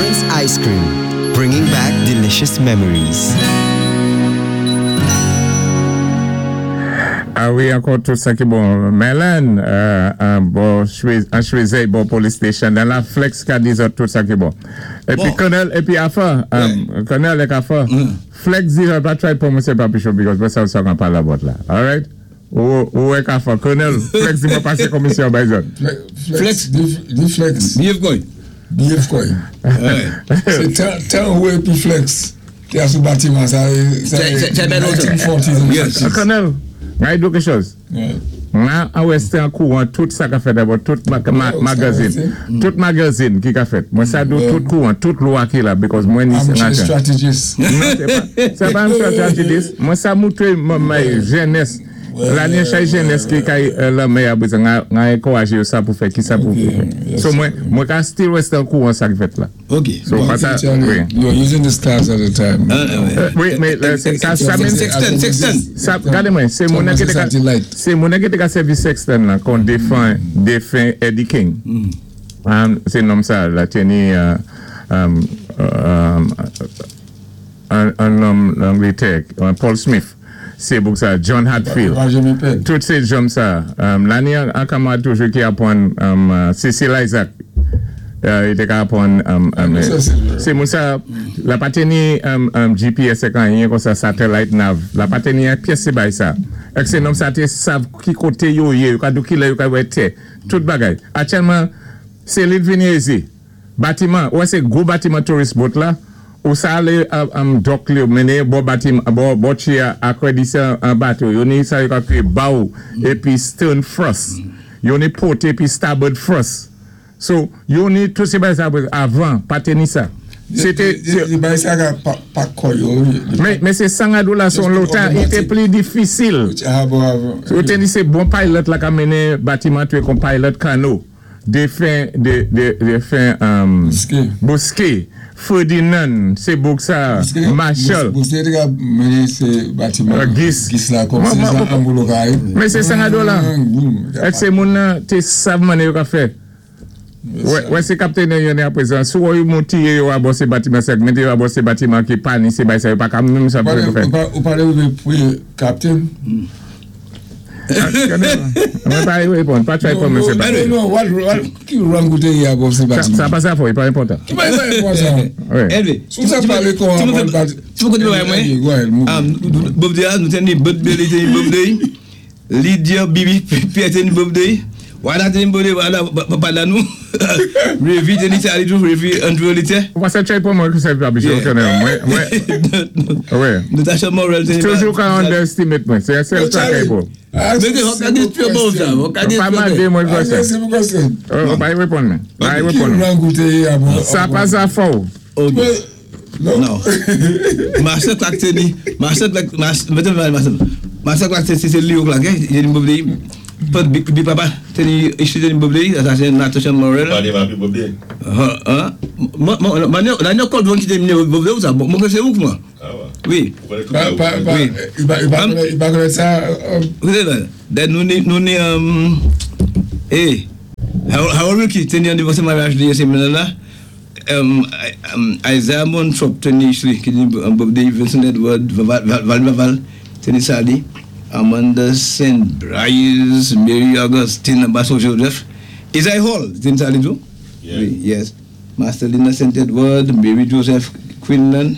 Byron's Ice Cream, bringing back delicious memories. A wi, ankò tout sa ki bon. Merlin, an bò an Chwezèy bò police station nan la Flex ka di zòt tout sa ki bon. Epi Colonel, epi Afa, Colonel ek Afa, Flex di zòt pa try pran mwen se Papichon because mwen sa sa kan pale about la. Alright? Ou wè ka fò. Colonel, Flex di mwen pase komisyon bay zòt. Flex, di Flex. Biyef kòy. Biyef kòy. Se tan ou epi Flex ki a sou batiman sa e. Se bèl lontan. 1940s and 50s. Colonel, mwen di ou ke chòz. Mwen an reste an kouran tout sa ka fèt about tout magazine. Tout magazine ki ka fèt. Mwen sa di ou tout kouran, tout lwa ki la because mwen ni Armchair strategist. Non, se pa, se pa armchair strategist. Mwen sa moutre may jenès. La ni chay jenès ki kay lanmè a bezwen nga enkouraje yo sa pou fè, ki sa pou fè. So mwen, mwen ka still reste an kouran sa ki fèt la. Ok. So pa sa, wi. You are using the stars at the time. Wi, men sa, sa men. Sextant, sextant. Sa, gade mwen, se moun nan ki te ka, se moun nan ki te ka sèvi sextant lan kon defen, defen Eddie King. Se nonm sa la teni, an nonm Langletè, Paul Smith. Se bouk sa, John Hadfield. Tout se jòm sa. La ni an kamarad toujou ki apwann Cecil Isaac. Li te ka apwann. Se moun sa, la pa te ni GPS ek anyen konsa, satellite nav. La pa te ni an pyès se bay sa. Ek se nonm sa te sav ki kote yo ye, yo ka di w ki lè yo ka wè tè. Tout bagay. Aktyèlman, se li t vini ezi. Batiman, ou wè se gwo batiman tourist boat la, ou sa ale dock li yo mennen yo bò batiman, bò tye a akredi se an bato, yo ni sa yo ka kriye bow epi stern thrust, yo ni port epi starboard thrust. So, yo ni tout se bagay sa yo avan pa te ni sa. Se te, se. Se bagay sa ka pa kò yo. Men se 100 dola son lota, li te pli difisil. Yo te ni se bon pilot la ka mennen batiman tou kon pilot kano. Defen defen Bousquet Ferdinand se bouk sa Marshall Bousquet te ka mennen se batiman Gis la kòm se jan Angoulou ka ye. Men se 500 dola Èske se moun nan te sav mane yo ka fè Wè se kaptenè yo ne aprezan si wè yo moun tiye yo abò se batiman sa mete yo abò se batiman ki pa ni se bay sa yo pa ka menm sa pou yo fè. Ou pale de pre kaptenn? Mwen pa reponn, pa try reponn mwen se pa. Non, non, ki rang ou te ye a bon se pa Sa pa sa fò, li pa enpòtan. Ki pa enpòtan? Elve, Sou sa pale kon an mwen pa. Ti mwen kote bagay mwen, Bob Day a, nou te ni Bud Bailey te ni Bob Day, Lydia Bibi Pierre te ni Bob Day, Wada te ni Bob Day, Wada papa da nou, Revy te ni Charlie tou, Revy Andrew Olitè. Ou pa se try pou mwen ki se pa biche, ok mwen, mwen, wè. Natasha Morel te ni. Toujou ka underestimate mwen, se sèl sa kay pou. Mwen te ka di tue bon sa, ou ka di tue bon. Pa mande mwen kwa sa. Ou pa y reponn mwen. Pa y reponn mwen. Sa pa sa fò ou. Ok. Non. Marcel Clark te ni, Marcel Clark, Marcel, Marcel Clark se se li yo Clark, eh, te ni Bob Day. Pot Big Big Papa te ni, ishi te ni Bob Day, sa se Natasha Morel. Pale ma pi Bob Day. Han, han. Mwen, mwen, mwen, la ni kòd ki te ni Bob Day ou sa, mwen se ou mwen. Ah wa. Wi. Ou konnen tout sa ou. Pa, pa, pa, pa pa konnen sa. Then nou ni, nou ni, eh, Harold Wilkie te ni anivèsè maryaj li semèn nan la. Isaiah Montrop te ni Ishley ki te ni Bob Day, Vincent Edward, Val Vaval te ni Sally, Amanda Saint Blaise, Mary Augustine Basso Joseph, Isaiah Hall te ni Sally tou, wi, yes, Marcelina Saint Edward, Mary Joseph Quinlan,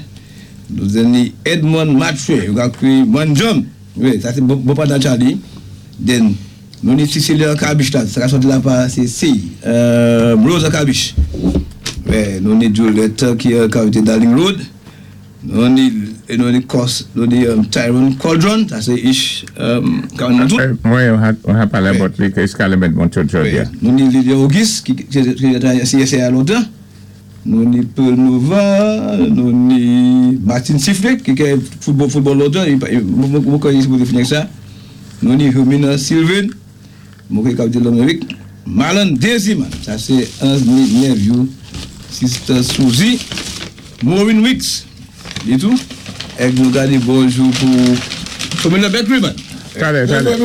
nou te ni Edmond Mathieu, yo ka kriye Manjom, wi, sa se bon pandan Charlie, then. Nou ni Cecilia Cabiche la, sa ka sòti la pa se si Rosa Cabiche. Nou ni Juliette ki ka abite Darling Road. Nou ni nou ni Cos, nou ni Tyrone Cauldron, sa se ish ka nan tout. Mwen ha pale about li ke iska le met bon tout jodi a. Nou ni Lydia Auguste ki ki CSA lontan. Nou ni Pearl Nova, nou ni Martin Sifflet ki ke football football lontan, mwen kwè li sipoze fini ak sa. Nou ni Hermina Sylvain, mwen kwè li kap di Lanmerik. Marlon Desiman, sa se anzni nephew Sister Suzy. Maureen Weeks, li tou. Ek nou gade bonjou pou Formula Bakery man. Talè, talè,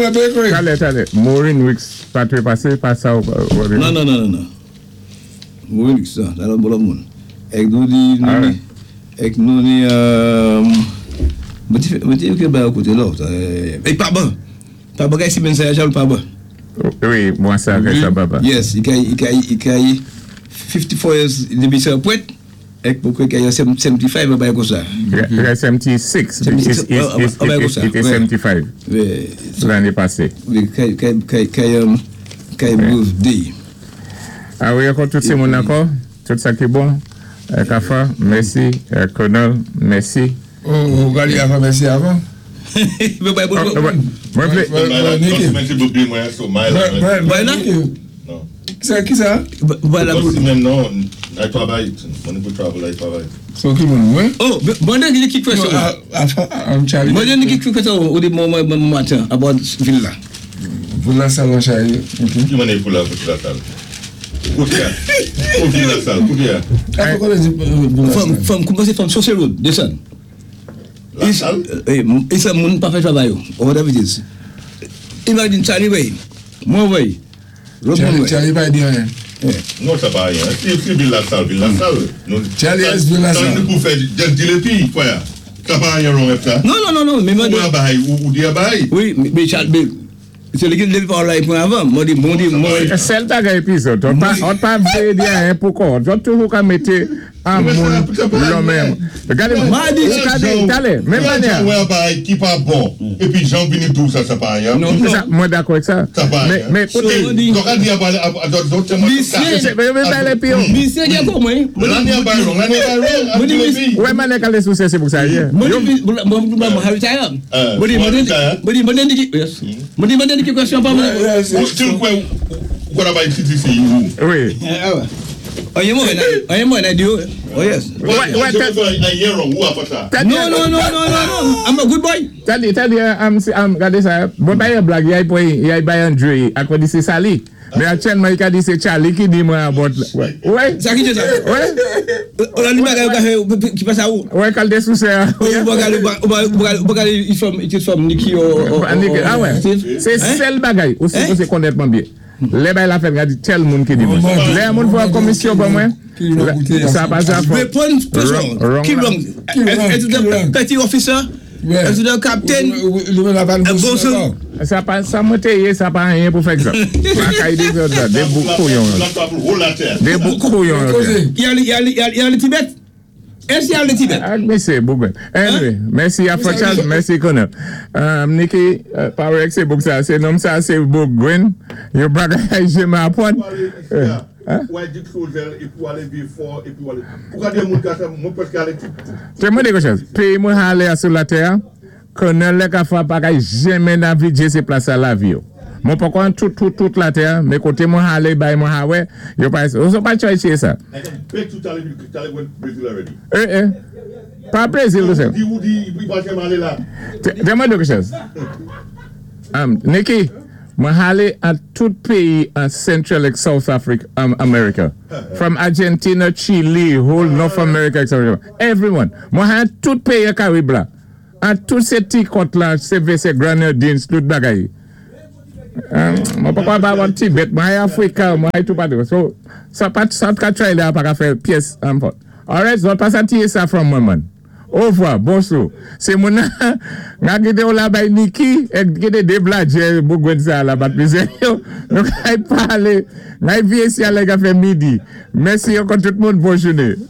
talè, talè, Maureen Weeks pa trepase pa sa ou. Non, non, non, non. Maureen Weeks, sa lòt bon lòt moun. Èk nou ni, nou ni, èk nou ni, mwen té, mwen té ékri bagay koté lòt, èk Paban. Paban kay simenn sa Jean Paban. Wi, mwa sa kay sa Paban. Yes, i kay, i kay, i kay 54 years depi sa pwent, èk mwen kwè kay 75 yon bagay konsa. I kay 76, i té 75 lanné pasé. Wi, kay, kay, kay, kay, kay birthday. A wi ankò tout sé moun ankò. Tout sa ki bon Kafa mèsi Colonel mèsi. Oh gade avan mèsi avan. Mwen vle. Kisa? So ki moun mwen? Oh mande ki question. Mande ki question ou di mwen matin about vil la. Pou la sal lan chaje ok. Ki manè pou la pou la sal? Kote a? Ou di la sal, kote a? A fò konnen di pou la sal. Fanm koumanse fanm Chaussée Road desann. La sal? E sa moun pa fè travay yo or whatever it is. Imagine Charlie wey, mwen wey, lòt moun wey. Charlie pa di anyen. Non sa pa anyen. Si vil la sal, vil la sal. Charlie es vil la sal. Sa nou pou fè just di le pi, fwa ya. Sa pa anyen wrong ak sa. Non non non non men mande. Ou bay ou di a bay. Wi men Charles men se li ki leve pawòl la e pwen avan mande bon di mwen. Sèl bagay epizòd ou pa ou pa vle di anyen pou kò ou toujou ka mete an moun lonmen gade ou ka di talè menm manyè. Jan wè a bay ki pa bon epi jan vini di w sa sa pa anyen. Non se sa mwen dakò ak sa men kote. Dò ka di a bay a dò dò tèlman tout ka. Misye gen komen. Lane a bay wrong, lane a bay wrong, ap di lepi. Wè manè kale sou se se pou sa ye. Mwen di mwen mwen retire. Mwen di mwen di mwen di yes. Mwen di mwen di ki question pa mwen. Ou still kwè ou konn ap bay CTC ou. Wi. Anyen mwen anyen mwen nan di yo. Oh yes. Wè tèt. Anyen wrong ou apa sa. Non non non non non I'm a good boy. Tande tande am gade sa mwen pa yon blag yay pran yay bay Andre ak di se Sali. Men aktyèlman i ka di se Charly ki di mwen abòt la. Wè. Sa ki di sa? Wè. Ou la di bagay ou ka fè ki pa sa ou. Wè kalte sousè a. Ou pa gade ou pa gade it from it is from Nicky or Nicky ah wè. Se sèl bagay ou sipoze konèt mwen byen. Lè bagay la fèt m ka di tèl moun ki di mwen. Lè yon moun fè yon komisyon ban mwen, sa pa sa fò. Reponn kesyon. Ki wrong? Ki wrong? Ki wrong? Petty officer? Èske the captain Bonson. Sa pa sa mwen te ye sa pa anyen pou fè egzanp. Lakay de zòt la de bouk kouyon yo. De bouk kouyon yo te. Y ale Tibet? Èske y ale Tibet? Ak mesye bouk. Anyway, mèsi Afro Charles, mèsi Colonel. Nicky, pa wè se bouk sa, se nonm sa se bouk grenn. Yo pa ka jeme aprann. Ou al dik Chozel epi ou ale Vieux-Fort epi ou ale Ou ka gen moun ka sa mwen preske ale tout tout. Te mande yon chòz, peyi mwen hale a sou latè a, konnen lè ka fwa pa kay jenmen nan vi Dye se plas sa lavi yo. Mwen poko an tout tout tout latè a, men kote mwen hale bay mwen ha wè, yo pa ou so pa try chye sa. I can bet you Charlie Charlie went Brazil already. Eh eh. Pa Brazil tou sèl. Ou di ou di li pa janm ale la. Te mande yon chòz. Nicky. Mwen hale an tout péyi an Central ek South Africa, America. From Argentina, Chile, whole North America, etc. Everyone. Mwen hale an tout péyi an Karib la. An tout sé ti kòt la, Saint Vincent, Grenadines, tout bagay. Mwen pa pa ba Tibet, mwen hale Africa, mwen hale tout patou. So, sa pa, sa ka try la pa ka fè pyès. Alright, so pa sa tiye sa from mwen man. Ovwa, bonsou. Se moun nan, nga kite ou la bay Niki, ek kite de bladjè bougwen sa la bat mizè yo. Nou kay pale, ngay viye si alè ka fè midi. Mèsi ankò tout moun, bon jounen.